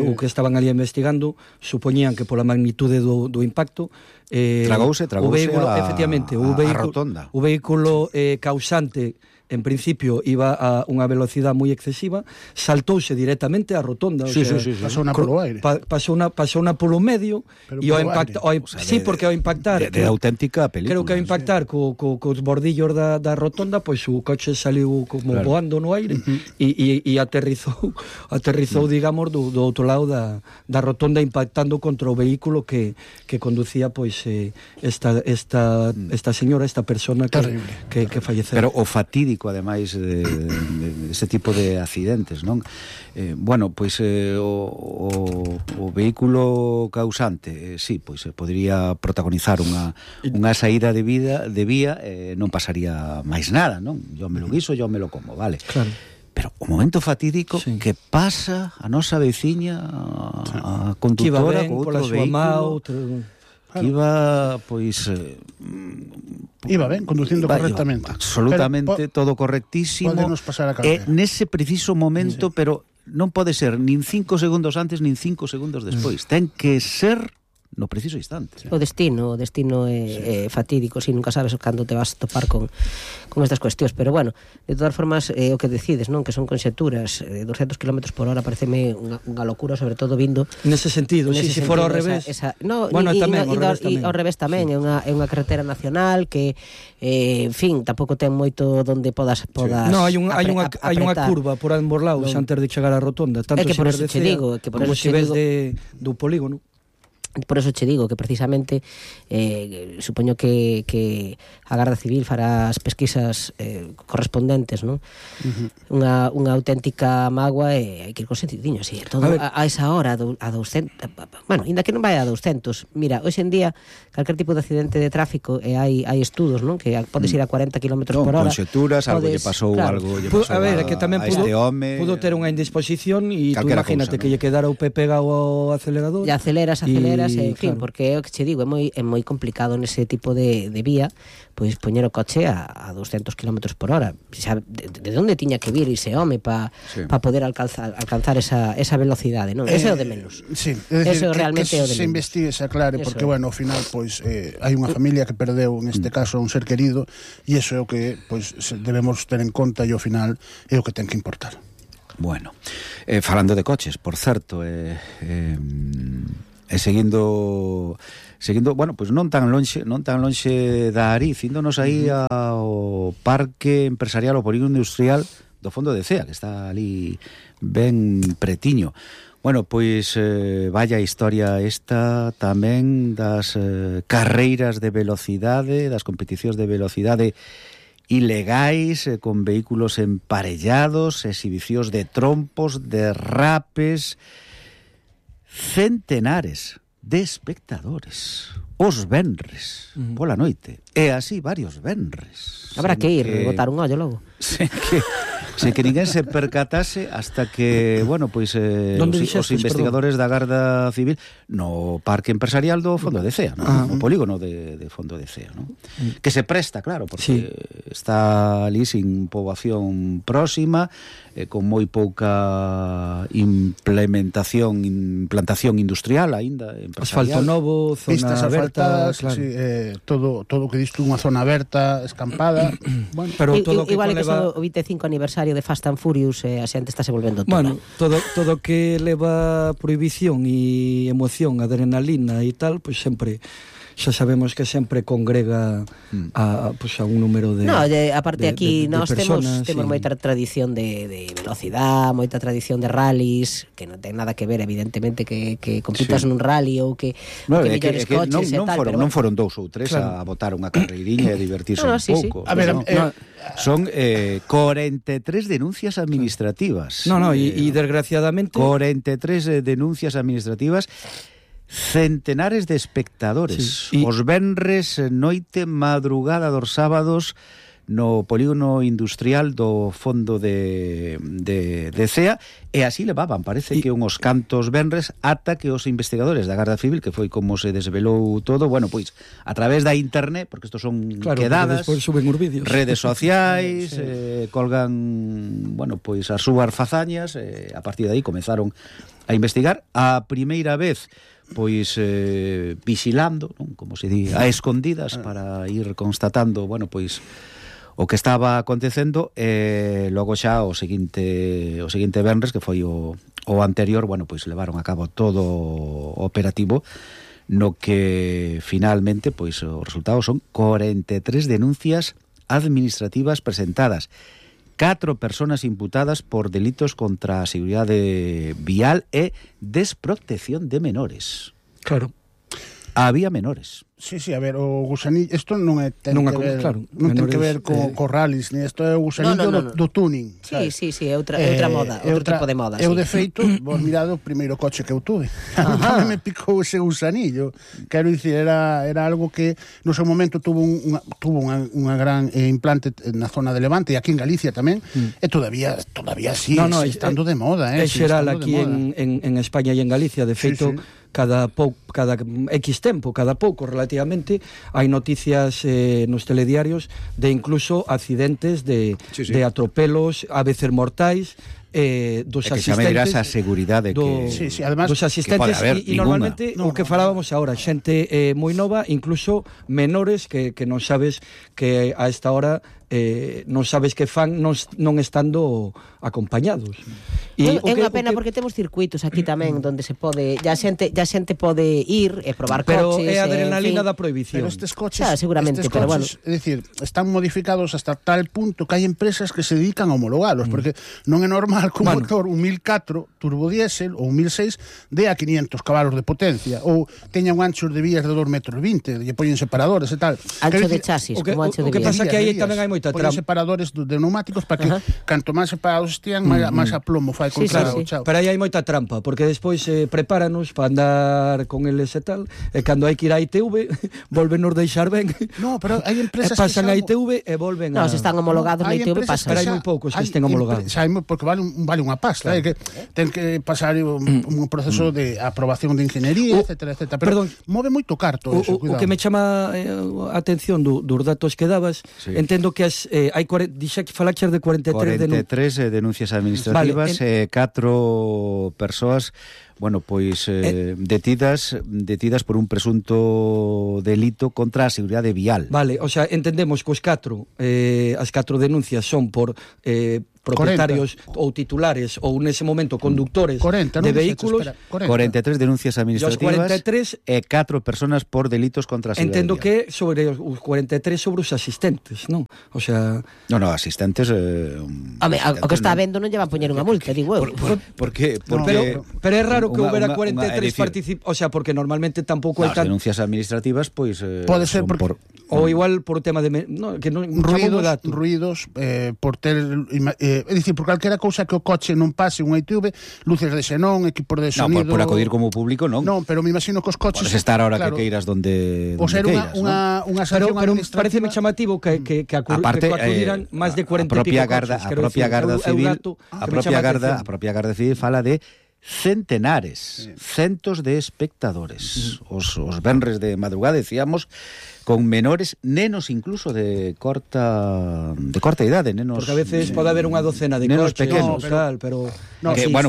o que estaban ali investigando supoñían que pola magnitude do impacto tragouse efectivamente, a rotonda. O vehículo causante en principio iba a unha velocidade moi excesiva, saltouse directamente á rotonda, pasou polo aire. Pasou una polo medio e ao impactar, porque ao impactar de auténtica película. Creo que ao impactar cos bordillos da rotonda, pois o coche saliu como voando no aire e aterrizou, digamos, do outro lado da rotonda, impactando contra o vehículo que conducía pois esta señora, esta persona que falleceu. Pero o fatídico ademais de ese tipo de accidentes, non? O vehículo causante, podría protagonizar unha saída de vía, non pasaría máis nada, non? Yo me lo guiso, yo me lo como, vale. Claro. Pero o momento fatídico que pasa a nosa veciña, a conductora co outro vehículo, que iba, iba ben, conducindo correctamente. Absolutamente, todo correctísimo. Podenos pasar a carretera. Nese preciso momento, pero non pode ser nin 5 segundos antes, nin 5 segundos despois. Ten que ser no preciso instante. O destino é fatídico, si nunca sabes cando te vas a topar con estas cuestións, pero bueno, de todas formas o que decides, non, que son conxeturas, 200 km por hora pareceme unha locura, sobre todo vindo nese sentido, se fora ao revés. Bueno, ao revés tamén, é unha carretera nacional que en fin, tampouco ten moito onde podas No, hai unha curva por ambos lados antes de chegar á rotonda, tanto se ves de Cea como se ves do polígono. Por eso che digo que precisamente supoño que a Garda Civil fará as pesquisas correspondentes, non? Unha auténtica mágoa e hai que ir con sentidinho, así, todo a esa hora a 200, bueno, ainda que non vai a 200. Mira, hoxe en día calquer tipo de accidente de tráfico hai estudos, non? Que podes ir a 40 km por hora. Conxeturas, algo lle pasou, algo lle pasou a que tamén este home. Pudo ter unha indisposición e tú imagínate que lle quedara o pé pegado ao acelerador. E aceleras, en fin, porque é o que che digo, é moi complicado nese tipo de vía, pois poñer o coche a 200 km por hora. Xa, de onde tiña que vir ese home para poder alcanzar esa velocidade, non? Ese é o de menos. Sí, é decir, eso realmente é o de se investigue, se aclare, porque, bueno, ao final, pois, hai unha familia que perdeu, neste caso, un ser querido, e iso é o que, pois, debemos ter en conta, e ao final é o que ten que importar. Bueno, falando de coches, por certo, e seguindo, bueno, pois non tan lonxe da Ariz, índonos aí ao Parque Empresarial, ao Polígono Industrial do Fondo de Cea, que está ali ben pretiño. Bueno, pois vaya historia esta tamén das carreiras de velocidade, das competicións de velocidade ilegais, con vehículos emparellados, exhibicións de trompos, de rapes, centenares de espectadores os venres pola noite, e así varios venres. Habrá que ir, botar un ollo logo. Sen que ninguén se percatase hasta que, bueno, pois os investigadores da Garda Civil no Parque Empresarial do Fondo de Cea, no polígono de Fondo de Cea, no? Que se presta, claro, porque está ali sin poboación próxima, con moi pouca implantación industrial aínda, empresarial. Asfalto novo, zona pistas aberta, asfaltadas, claro. Todo o que diste unha zona aberta, escampada. Bueno, pero todo igual que son o 25 aniversario de Fast and Furious, a xente está se volvendo toda. Bueno, todo que leva prohibición e emoción, adrenalina e tal, pois sempre xa sabemos que sempre congrega a un número de aparte aquí nós temos moita tradición de velocidade, moita tradición de rallies, que non ten nada que ver evidentemente que compitas nun rally ou que mellores coches e tal. Non foron 2 ou 3 a botar unha carreiriña e divertirse un pouco. A ver, son 43 denuncias administrativas. E desgraciadamente 43 denuncias administrativas, centenares de espectadores, os venres, noite, madrugada dos sábados no polígono industrial do Fondo de Cea, e así levaban, parece que unhos cantos venres, ata que os investigadores da Garda Civil, que foi como se desvelou todo, bueno, pois a través da internet, porque estos son quedadas, suben os vídeos, redes sociais, colgan, bueno, pois as súas fazañas, a partir de aí comezaron a investigar. A primeira vez pois vigilando, non? Como se di, a escondidas, para ir constatando, bueno, pois o que estaba acontecendo, e logo xa o seguinte venres, que foi o anterior, bueno, pois levaron a cabo todo o operativo, no que finalmente pois os resultados son 43 denuncias administrativas presentadas, 4 persoas imputadas por delitos contra a seguridade vial e desprotección de menores. Claro. Había menores. Sí, a ver, o gusanillo, isto non ten que ver co rallies, ni isto é o gusanillo do tuning. Sí, é outra moda, outro tipo de moda. Eu, de feito, vos mirado o primeiro coche que eu tuve. Me picou ese gusanillo. Quero dicir, era algo que no seu momento tuvo unha gran implante na zona de Levante, e aquí en Galicia tamén, e todavía sigue estando de moda. É xeral aquí en España e en Galicia, de feito, cada X tempo, cada pouco relativamente, hai noticias nos telediarios de incluso accidentes de atropelos, a veces mortais, dos que xa me dirás a asistentes seguridade que además, dos asistentes e normalmente o que falábamos agora, xente moi nova, incluso menores que non sabes que a esta hora non sabes que fan non estando acompañados. É unha pena porque temos circuitos aquí tamén onde se pode, ya xente pode ir e probar coches. Pero é a adrenalina da prohibición. Pero estes coches, seguramente, pero bueno, é dicir, están modificados hasta tal punto que hai empresas que se dedican a homologalos, porque non é normal que un motor, un 1004 turbodiesel ou un 1006 dé a 500 cabalos de potencia ou teña un ancho de vías de 2,20 metros, lle poñen separadores e tal. Ancho de chasis, como ancho de vías. O que pasa que aí tamén hai moita trampa. Separadores de neumáticos para que canto máis separados estean, máis aplomo fai contra o chao. Pero aí hai moita trampa, porque despois prepáranos para andar con eles e tal, e cando hai que ir a ITV, volvenos deixar ben. No, pero hai empresas pasan a ITV e volven a... No, se están homologados na ITV pasan. Pero hai moi poucos que estén homologados. Porque vale unha pasta, que ten que pasar un proceso de aprobación de ingeniería, etcétera. Pero move moito carto eso, cuidado. O que me chama a atención dos datos que dabas, entendo que hai falaches de 43 denuncias administrativas, 4 persoas detidas por un presunto delito contra a seguridade vial. Vale, o sea, entendemos que as 4 denuncias son por propietarios 40. Ou titulares ou nese momento conductores 40, de vehículos. 43 denuncias administrativas 43, e 4 personas por delitos contra a seguridade. Entendo que sobre os 43 sobre os asistentes, non? O sea, no, asistentes o que está vendo non lle va a poñer unha multa, digo eu. Porque pero é raro que houbera 43 participantes, o sea, porque normalmente tampouco hai tan denuncias administrativas, pois pode ser por ou igual por o tema de que non ruidos por ter é dicir, por calquera cousa que o coche non pase un ITV, luces de xenón, equipos de sonido. No, por acudir como público, non. Non, pero me imagino que os coches... Podes estar ahora que queiras donde ser queiras, unha sanción administrativa. Pero pareceme chamativo que acudiran máis de 40 e pico coches. A propia Garda Civil fala de centenares, centos de espectadores. Os venres de madrugada, decíamos, con menores, nenos incluso de corta idade, nenos. Porque a veces pode haber unha docena de coches pequenos, pero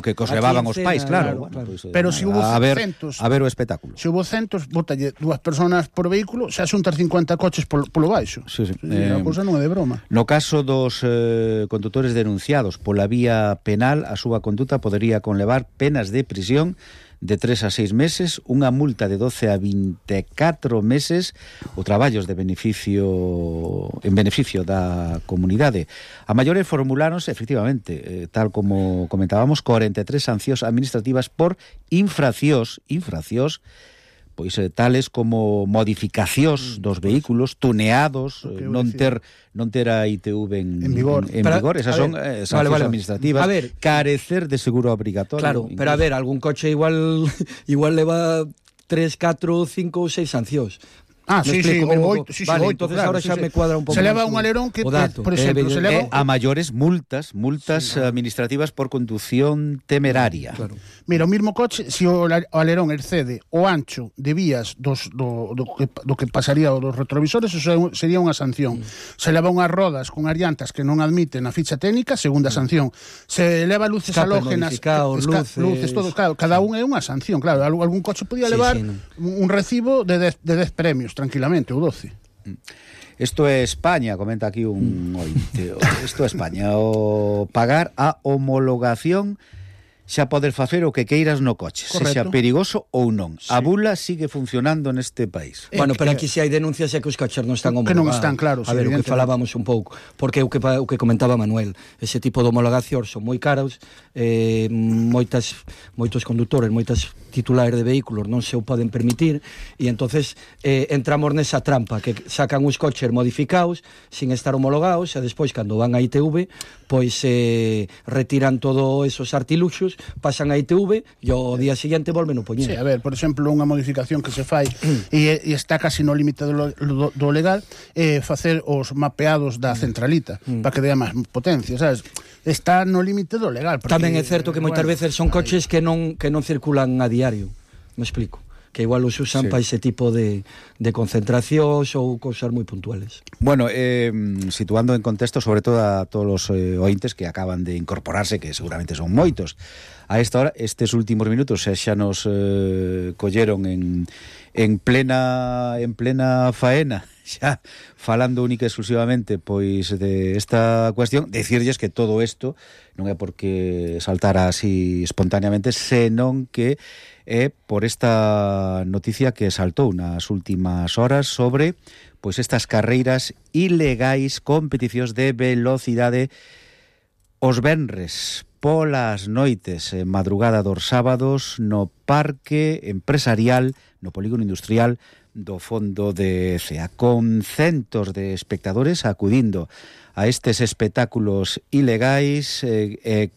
que os levaban os pais, claro. Pero se hubo centos, a ver o espectáculo. Se hubo centos, bótalle 2 personas por vehículo, xa xuntas 50 coches polo baixo. Sí. A cousa non é de broma. No caso dos condutores denunciados pola vía penal, a súa conduta podería conlevar penas de prisión de 3 a 6 meses, unha multa de 12 a 24 meses ou traballos en beneficio da comunidade. A maiores formuláronse, efectivamente, tal como comentábamos, 43 sancións administrativas por infraccións, pois tales como modificacións dos vehículos, tuneados, non ter a ITV en vigor. Esas son sancións administrativas. A ver, carecer de seguro obrigatorio. Claro, incluso. Pero a ver, algún coche igual leva 3, 4, 5 ou 6 sancións. Sí, o 8, vale, entonces claro, ahora xa me cuadra un pouco. Se leva un alerón que, por exemplo, se leva a maiores multas administrativas por condución temeraria. Claro. Mira, o mismo coche, se o alerón excede o ancho de vías do que pasaría dos retrovisores, eso sería unha sanción. Se leva unhas rodas con as llantas que non admiten a ficha técnica, segunda sanción. Se leva luces halógenas, luces, todo, claro, cada un é unha sanción, claro. Algún coche podía levar un recibo de 10 premios tranquilamente, ou 12. Isto é España, comenta aquí un ointe. Isto é España, o pagar a homologación xa poder facer o que queiras no coche, sexa perigoso ou non. Sí. A bula sigue funcionando neste país. Bueno, pero aquí se hai denuncias é que os coches non están homologados. Que non están, claro. A ver, o que falábamos un pouco, porque o que comentaba Manuel, ese tipo de homologacións son moi caros, moitos condutores, moitas titulares de vehículos non se o poden permitir, e entonces entramos nesa trampa, que sacan os coches modificados, sin estar homologados, e despois, cando van a ITV, pois retiran todos esos artiluxos, pasan a ITV e ao día seguinte volven a poñer. Sí, a ver, por exemplo, unha modificación que se fai e está casi no límite do legal, facer os mapeados da centralita para que dea máis potencia, sabes? Está no límite do legal. Tamén é certo que moitas veces son coches que non circulan a diario, me explico. que igual os usan para ese tipo de concentracións ou cousas moi puntuales. Bueno, situando en contexto sobre todo a todos os ointes que acaban de incorporarse, que seguramente son moitos a esta hora, estes últimos minutos xa nos colleron en plena faena, xa falando única e exclusivamente pois de esta cuestión. Decirlles que todo isto non é porque saltara así espontáneamente, senón que é por esta noticia que saltou nas últimas horas sobre pois estas carreiras ilegais, competicións de velocidade os venres polas noites, en madrugada dos sábados, no parque empresarial, no polígono industrial do Fondo de Cea, con centos de espectadores acudindo a estes espectáculos ilegais,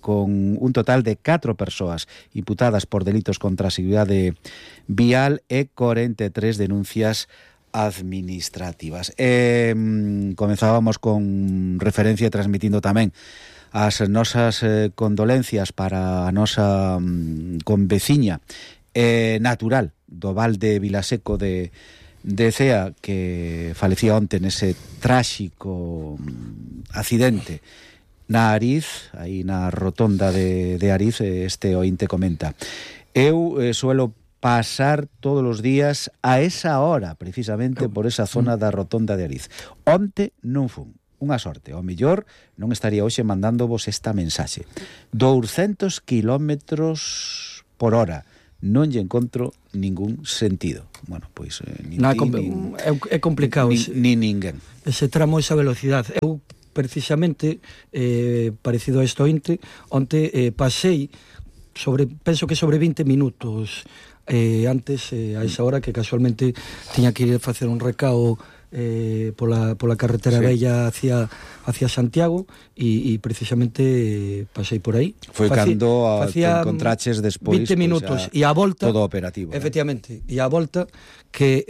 con un total de 4 persoas imputadas por delitos contra a seguridade vial e 43 denuncias administrativas. Comenzábamos con referencia transmitindo tamén as nosas condolencias para a nosa conveciña natural do Val de Vilaseco de Cea, que falecía onte nese tráxico accidente na Ariz, aí na rotonda de Ariz. Este ointe comenta: eu suelo pasar todos os días a esa hora, precisamente por esa zona da rotonda de Ariz. Onte non fun. Unha sorte, ao mellor non estaría hoxe mandándovos esta mensaxe. 200 kilómetros por hora. Non lle encontro ningún sentido. Bueno, pois é complicado ni ninguén. Ese tramo, esa velocidade. Eu precisamente parecido a isto onte pasei penso que sobre 20 minutos antes a esa hora, que casualmente tiña que ir a facer un recao pola carretera bella hacia Santiago e precisamente pasei por aí. Foi cando te encontraches despois 20 minutos e a volta todo operativo. Efectivamente, e a volta que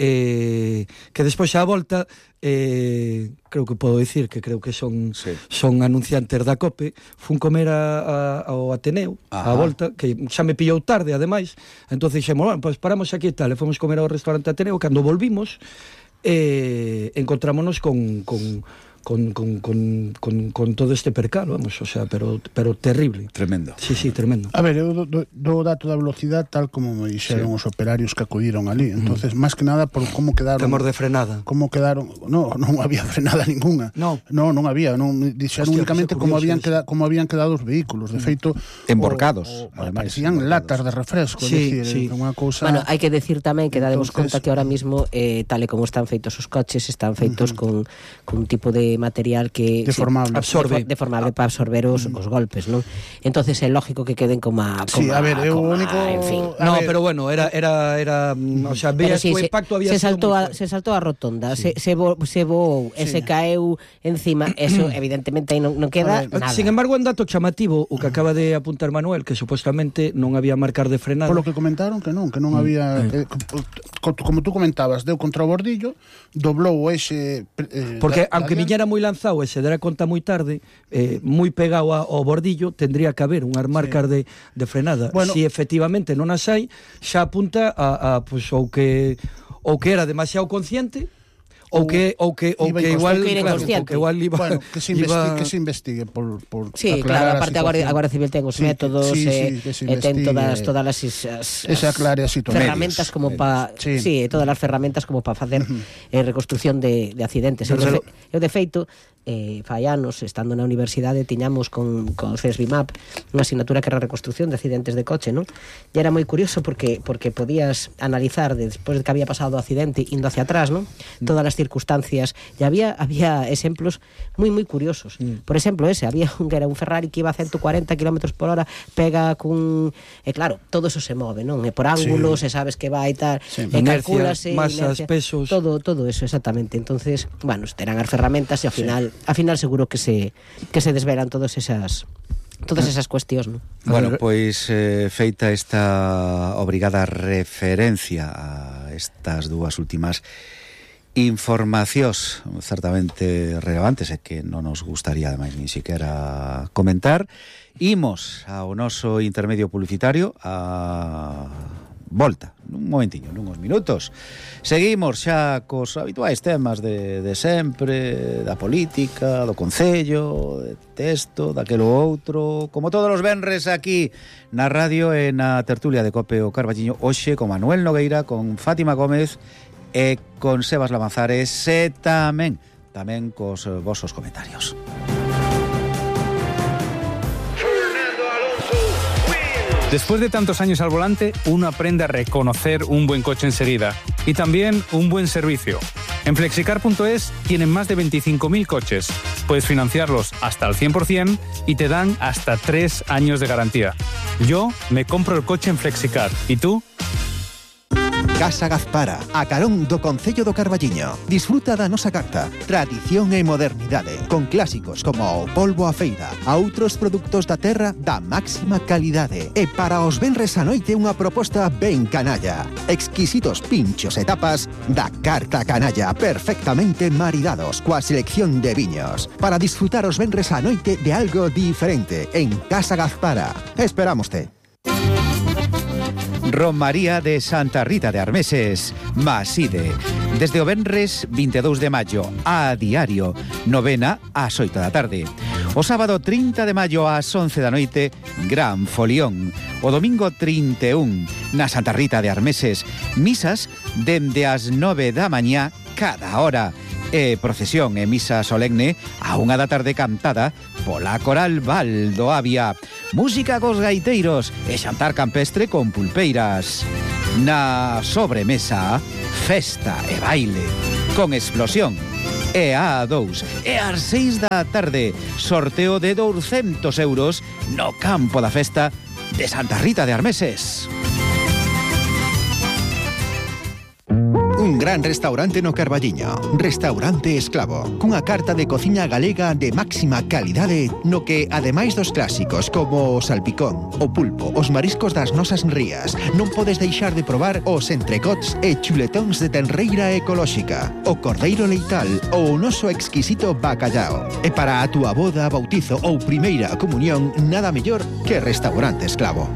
despois a volta creo que podo dicir que creo que son anunciantes da COPE. Fun comer ao Ateneo a volta, que xa me pillou tarde ademais, entonces dixemos, bueno, pues paramos aquí e tal, e fomos comer ao restaurante Ateneo. Cando volvimos encontrámonos con todo este percalo, vamos, o sea, pero terrible. Tremendo. Sí, tremendo. A ver, eu do dato da velocidade tal como me dixeron os operarios que acudiron ali. Entonces, máis que nada por como quedaron... Temor de frenada. Como quedaron... Non había frenada ninguna. Non había. Dixeron únicamente como habían quedado os vehículos. De feito... Emborcados. Parecían latas de refresco. Sí. Unha cousa... Bueno, hai que decir tamén que dademos conta que ahora mismo, tal e como están feitos os coches, están feitos con un tipo de material que deformable para absorber os golpes, non? Entonces é lógico que queden como a ver, é o único, en fin. Pero bueno, era o sea, veías o impacto había se saltou a rotonda, se voou e se caeu encima, eso evidentemente aí non queda nada. Sin embargo, un dato chamativo o que acaba de apuntar Manuel, que supuestamente non había marcar de frenada. Polo que comentaron que non había como tú comentabas, deu contra o bordillo, doblou ese porque aunque viñera moi lanzado e se dera conta moi tarde, moi pegado ao bordillo, tendría que haber unhas marcas de frenada. Bueno, si efectivamente non as hai, xa apunta a pues, ou que era demasiado consciente ou que igual iba, bueno, que se investigue por sí, claro, aparte a Guardia Civil ten os métodos ten todas as ferramentas como para todas as ferramentas como para facer reconstrucción de accidentes. Eu de feito fai anos, estando na universidade, tiñamos con FESBIMAP unha asignatura que era reconstrucción de accidentes de coche, non? E era moi curioso porque podías analizar despois de que había pasado o accidente indo hacia atrás, non? Todas as circunstancias, e había exemplos moi curiosos. Por exemplo, había un que era un Ferrari que iba a 140 km por hora, pega cun... claro, todo eso se move, non? E por ángulos, e sabes que vai e tal, e calculase, masas, pesos... Todo eso, exactamente. Entonces, bueno, terán as ferramentas e ao final seguro que se desvelan todas esas cuestións, non? Bueno, pois feita esta obrigada referencia a estas dúas últimas informacións certamente relevantes e que non nos gustaría ademais nin siquiera comentar, imos ao noso intermedio publicitario a volta, nun momentiño, nunhos minutos. Seguimos xa cos habituais temas de sempre, da política, do concello, de texto, daquelo outro, como todos os venres aquí na radio e na tertulia de Cope o Carballiño, hoxe con Manuel Nogueira, con Fátima Gómez e con Sebas Lamazares e tamén cos vosos comentarios. Después de tantos años al volante, uno aprende a reconocer un buen coche enseguida y también un buen servicio. En Flexicar.es tienen más de 25.000 coches. Puedes financiarlos hasta al 100% y te dan hasta 3 años de garantía. Yo me compro el coche en Flexicar. ¿Y tú? Casa Gazpara, a carón do Concello do Carballiño. Disfruta da nosa carta, tradición e modernidade, con clásicos como o polvo a feira, a outros produtos da terra da máxima calidade. E para os venres a noite unha proposta ben canalla. Exquisitos pinchos e tapas da carta canalla, perfectamente maridados coa selección de viños. Para disfrutar os venres a noite de algo diferente en Casa Gazpara. Esperámoste. Romaría de Santa Rita de Armeses, Maside. Desde o venres 22 de maio a diario, novena ás 8 da tarde. O sábado 30 de maio ás 11 da noite, gran folión. O domingo 31 na Santa Rita de Armeses, misas dende as 9 da mañá cada hora. E procesión e misa solemne a 1 da tarde cantada pola Coral Valdo Avia. Música cos gaiteiros e xantar campestre con pulpeiras. Na sobremesa, festa e baile con explosión. E a 2 e ás 6 da tarde, sorteo de 200 euros no campo da festa de Santa Rita de Armeses. Un gran restaurante no Carballiño, Restaurante Esclavo, cunha carta de cociña galega de máxima calidade no que, ademais dos clásicos como o salpicón, o pulpo, os mariscos das nosas rías, non podes deixar de probar os entrecots e chuletóns de tenreira ecolóxica, o cordeiro leital ou o noso exquisito bacallao. E para a túa boda, bautizo ou primeira comunión, nada mellor que Restaurante Esclavo.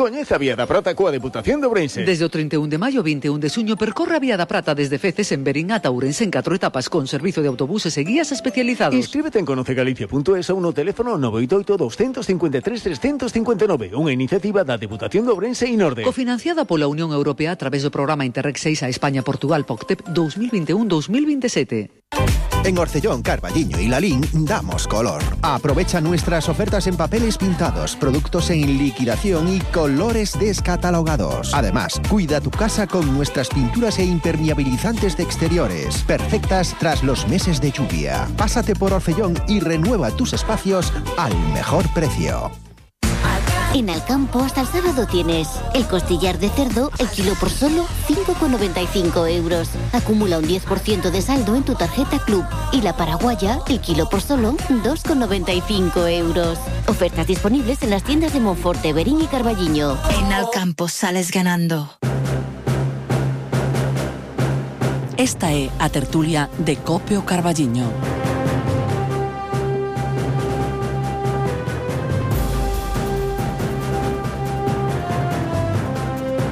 Coñece a Vía da Prata coa Deputación de Ourense. Desde o 31 de maio ao 21 de xuño percorre a Vía da Prata desde Feces en Berín ata Ourense en 4 etapas con servizo de autobuses e guías especializados. Inscríbete en conocegalicia.es ou no teléfono 988 253 359, unha iniciativa da Deputación de Ourense e Norde. Cofinanciada pola Unión Europea a través do programa Interreg 6 a España-Portugal POCTEP 2021-2027. En Orcellón, Carballiño y Lalín damos color. Aprovecha nuestras ofertas en papeles pintados, productos en liquidación y colores descatalogados. Además, cuida tu casa con nuestras pinturas e impermeabilizantes de exteriores, perfectas tras los meses de lluvia. Pásate por Orcellón y renueva tus espacios al mejor precio. En Alcampo hasta el sábado tienes el costillar de cerdo, el kilo por solo 5,95 euros. Acumula un 10% de saldo en tu tarjeta Club. Y la paraguaya, el kilo por solo 2,95 euros. Ofertas disponibles en las tiendas de Monforte, Berín y Carballiño. En Alcampo sales ganando. Esta é a tertulia de Cope o Carballiño.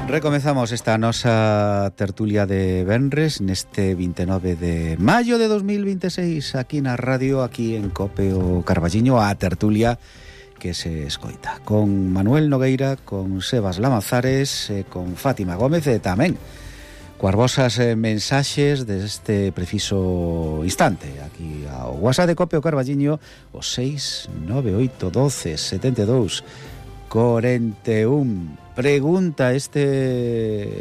Recomenzamos esta nosa tertulia de venres neste 29 de maio de 2026 aquí na radio, aquí en Cope o Carballiño, a tertulia que se escoita con Manuel Nogueira, con Sebas Lamazares, con Fátima Gómez e tamén coas vosas mensaxes deste preciso instante aquí ao WhatsApp de Cope o Carballiño, o 698 12 72 41. Pregunta este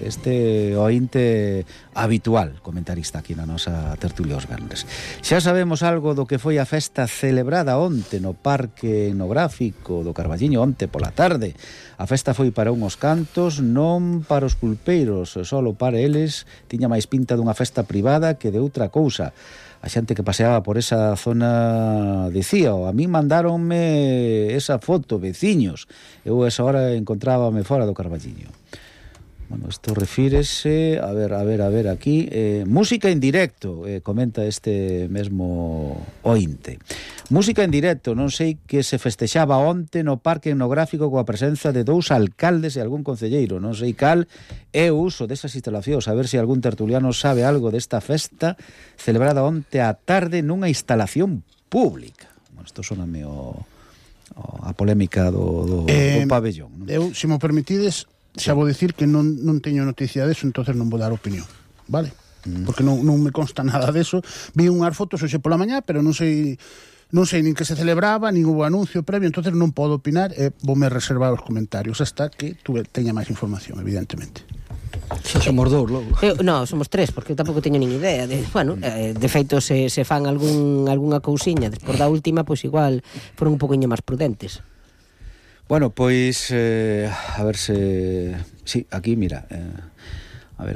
ointe habitual, comentarista aquí na nosa tertulia os venres. Xa sabemos algo do que foi a festa celebrada onte no Parque Etnográfico do Carballiño, onte pola tarde. A festa foi para unhos cantos, non para os pulpeiros, solo para eles. Tiña máis pinta dunha festa privada que de outra cousa. A xente que paseaba por esa zona dicía, a mí mandáronme esa foto, veciños. Eu esa hora encontrábame fora do Carballiño. Bueno, isto refírese, a ver aquí, música en directo, comenta este mesmo ointe. Música en directo, non sei que se festexaba onte no Parque Etnográfico coa presenza de 2 alcaldes e algún concelleiro. Non sei cal é o uso desas instalacións, a ver se algún tertuliano sabe algo desta festa celebrada onte á tarde nunha instalación pública. Bueno, isto soname a polémica do pabellón. Eu, se mo permitides, xa vou dicir que non teño noticia deso, entonces non vou dar opinión, vale? Porque non me consta nada deso. Vi unhas fotos hoxe pola mañá, pero non sei nin que se celebraba, nin hubo anuncio previo, entonces non podo opinar e voume reservar os comentarios hasta que tú teña máis información, evidentemente. Xa somos dous logo. No, somos tres, porque eu tampouco teño nin idea. De feito, se fan algunha cousiña despois da última, pois igual foron un poquinho máis prudentes. Bueno, pois a ver se... Sí, aquí, mira, a ver.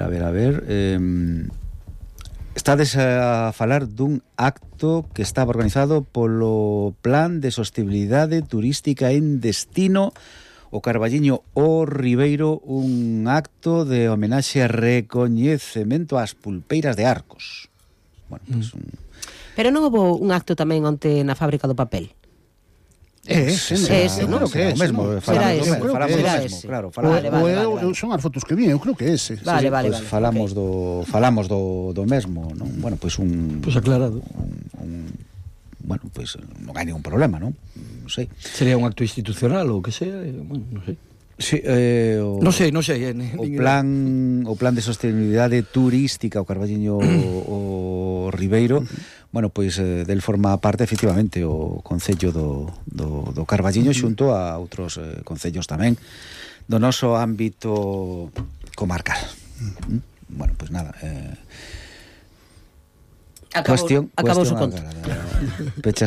Estades a falar dun acto que estaba organizado polo Plan de Sostenibilidade Turística en Destino o Carballiño o Ribeiro, un acto de homenaxe e recoñecemento ás pulpeiras de Arcos. Bueno, pues Pero non houve un acto tamén onte na fábrica do papel? Ese, non? Que é ese, mesmo, falamos do mesmo, claro. Son as fotos que vi, eu creo que é ese. Vale. Falamos do mesmo, non? Bueno, pois Pois aclarado. Bueno, pois non hai ningún problema, non? Non sei. Sería un acto institucional ou que sea, bueno, non sei. Sí, non sei. O plan de sostenibilidade turística o Carballiño o Ribeiro, bueno, pois del forma parte efectivamente o Concello do Carballiño xunto a outros concellos tamén do noso ámbito comarcal. Bueno, pois nada, acabou o conto. Pechase